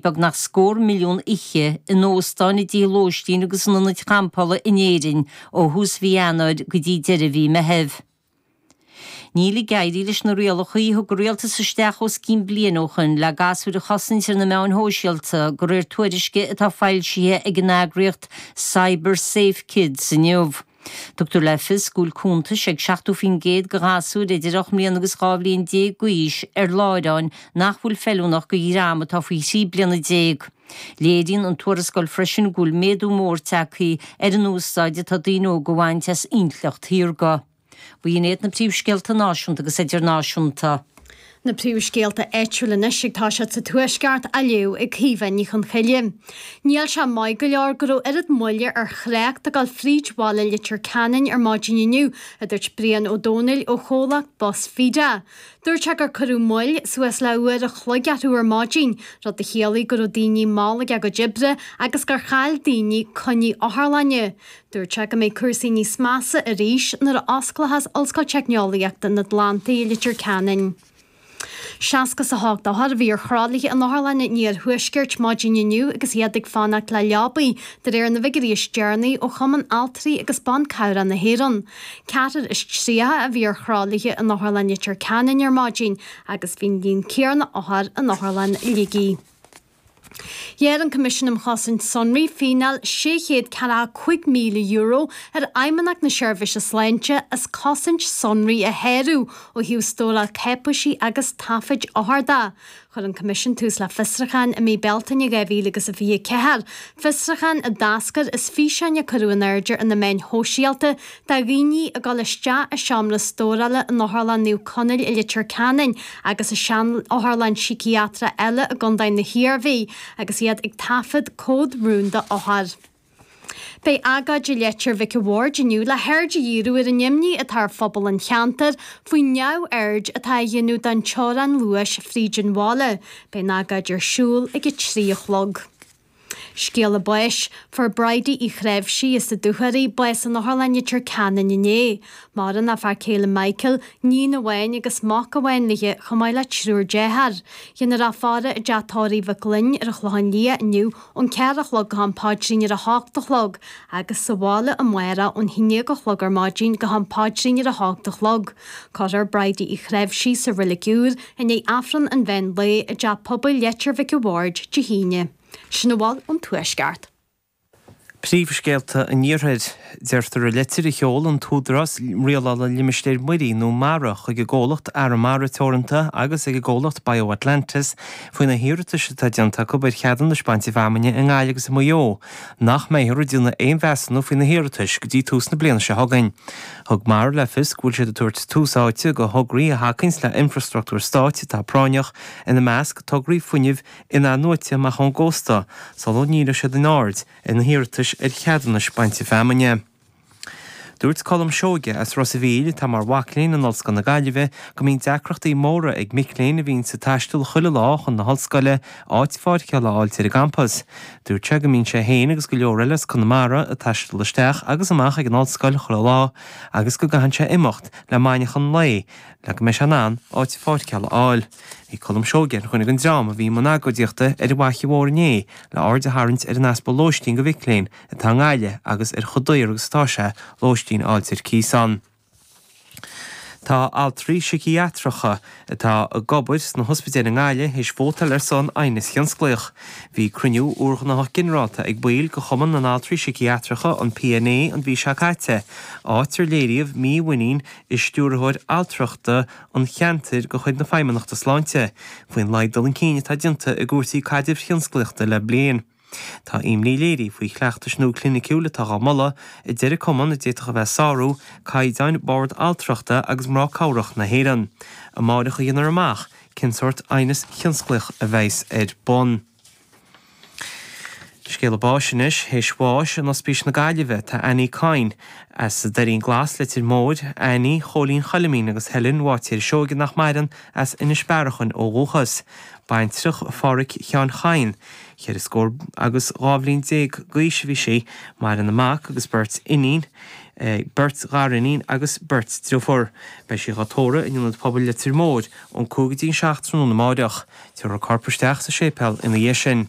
Beagnach scór milliún oíche in óstáin, i dtithe lóistín agus in ionaid champála in Éirinn ó thús mhí Eanáir go dtí deireadh mhí Meithimh. Níl ag éirí leis na rialacha a thug an rialtas isteach os cionn bliain ó shoin le gasúir a chosaint ar na meáin shóisialta, de réir tuairisce atá foilsithe ag an eagraíocht Cyber Safe Kids inniu. Tugtar le fios go bhfuil cuntais ag 70% de ghasúir idir 8 mbliana agus 12 bhliain d'aois ar láithreáin nach bhfuil feiliúnach do dhream atá faoi thrí bliana. Léiríonn an tuarascáil freisin go bhfuil méadú mór tagtha ar an úsáid atá daoine óga a bhaint as intleacht shaorga. B'in iad na príomhscéalta náisiúnta agus idirnáisiúnta. Na príomhscéalta áitiúla anois ag toiseacht sa Tuaisceart á léamh ag Caoimhe Ní Chonchoille. Níl sé maith go leor go raibh oiread moille ar thrácht ag dul fríd bhaile Leitir Ceanainn ar maidin inniu, a dúirt Brian Ó Domhnaill ó chomhlacht Bus Feda. Dúirt sé gur cuireadh moill suas le uair a chloig orthu ar maidin, rud a chiallaigh go raibh daoine mall ag a gcuid oibre agus gur chaill daoine coinní otharlainne. Dúirt sé go mbeidh cúrsaí níos measa arís nuair a osclóchas Ollscoil Teicneolaíochta an Atlantaigh i Leitir Ceanainn. 68 othar a bhí ar thralaithe in Otharlann an Iarthuaiscirt maidin inniu agus iad ag fanacht le leabaí, de réir na bhfigiúirí is deireanaí ó Chumann Altraí agus Ban Cabhrach na hÉireann. Ceathrar is 30 a bhí ar thralaithe in Otharlann Leitir Ceanainn ar maidin agus bhí an líon céanna othar in Otharlann Shligigh. Ghearr an Coimisiún um Chosaint Sonraí fíneáil €645,000 ar Fheidhmeannacht na Seirbhíse Sláinte as cosaint sonraí a shárú ó thaobh stóráil cáipéisí agus taifid othar de. Chuir an Coimisiún tús le fiosrúchán i mí Bealtaine 2024, fiosrúchán a d'eascair as físeáin a cuireadh in airde ar na meáin shóisialta de dhaoine ag dul isteach i seomra stórála in Otharlann Naomh Conaill i Leitir Ceanainn agus i sean-otharlann síciatrach eile i gContae na hIarmhí agus iad ag taifead comhad rúnda othar. Beidh agóid i Leitir Mhic a' Bhaird inniu le haird a dhíriú ar an imní atá ar phobal an cheantair faoin neamhaird atá á dhéanamh don teorainn luais fríd an bhaile. Beidh an agóid ar siúl ag 3 a chlog. Scéala báis, Fuair Bridie Uí Chnáimhsí as na Dúchoraidh bás in Otharlann Leitir Ceanainn inné. Maireann a fear céile Michael, níon amháin agus mac amháin léi chomh maith le triúr dearthár. Déanfar í a fhaire i dteach tórraimh Mhic Fhloinn ar an Chlochán Liath inniu ón 4 a chlog go ham paidrín ar a hocht a chlog agus sa bhaile amárach ón 11 a chlog ar maidin go ham paidrín ar a hocht a chlog. Cuirfear Bridie Uí Chnáimhsí sa Reilig Úr i ndiaidh Aifreann an mheán lae i dTeach Pobail Leitir Mhic a' Bhaird Dé hAoine. Sin a bhfuil ón Tuaisceart. Príomhscéalta an Iarthair. Deirtear i litir a sheol an tÚdarás Rialála Limistéir Mhuirí nó Mara chuig an gcomhlacht Arramara Teoranta agus ag an gcomhlacht BioAtlantis faoi na hiarratais atá déanta acu ar cheadúnais bainte feamainne i nGaillimh agus i Maigh Eo nach mbeifear ag déanamh aon mheasúnú faoi na hiarratais go dtí tús na bliana seo chugainn. Thug Mara le fios go bhfuil siad ag tabhairt tús áite do thograí a thacaíonns le infrastruchtúr stáit atá práinneach, ina measc tograí fuinnimh in-athnuaite amach ón gcósta, sula ndíreoidh siad a n-aird ar na hiarratais ar cheadúnais bainte feamainne. Dúirt Colm Seoige as Ros a' Mhíl, atá mar mhac léinn in Ollscoil na Gaillimhe, go mbíonn deacrachtaí móra ag mic léinn a bhíonns ag taisteal chuile lá chun na hollscoile áit pháirceála a fháilt ar an gcampas. Dúirt sé go mbíonn sé féin agus go leor eile as Conamara ag taisteal isteach agus amach ag an ollscoil chuile lá agus go gcaitheann sé imeacht le maidneachan lae le go mbeidh sé in ann áit pháirceála a fháil. Bhí Colm Seoige ar dhuine den dream a bhí i mbun agóidíochta ar an bhFaiche Mhór inné le aird a tharraingt ar an easpa lóistín do mhic léinn atá i nGaillimh agus ar chomh daor agus atá sé lóistín a fháilt ar cíos ann. Tá altraí síciatracha atá ag obair sna hospidéil i nGaillimh théis vótáil ar son aighneas thionsclaíoch. Bhí cruinniú úrghnáthach ginearálta ag baill de Chumann na nAltraí Síciatracha, an PNA, an mhí seo caite, áit ar léiríodh mímhuinín i stiúrthóir altrachta an cheantair de chuid na Feidhmeannachta Sláinte faoin laghad dul chun cinn atá déanta i gcúrsaí caidrimh thionsclaíochta le bliain. Tá imní léirithe faoi chleachtais nua cliniciúil atá dhá moladh, a deir an cumann, a d'fhéadfadh a bheith ag sárú caighdeáin Bhord Altrachta agus Mná Cabhrach na hÉireann. Amáireach a dhéanfar amach cén sórt aighneas thionsclaíoch a bheas ar bun. Scéala báis anois, théis bháis in Ospís na Gaillimhe tá Annie Coyne as an Doirín Glas, Leitir Móir, Annie Chóilín Choilimín agus Helen Bháitéir Seoige nach maireann as Inis Bearachain ó dhúchas. Baintreach Phádhraic Sheáin Chadhain. Cheithre scór agus 12 bhliain d'aois a bhí sí. Maireann a mac agus beirt iníon. Beirt ghariníon agus beirt driofúr. Beidh sí dhá tórramh in Ionad Pobail Leitir Móir ón 5 go dtí an 7 tráthnóna amáireach. Tabharfar a corp isteach sa séipéal ina dhiaidh sin.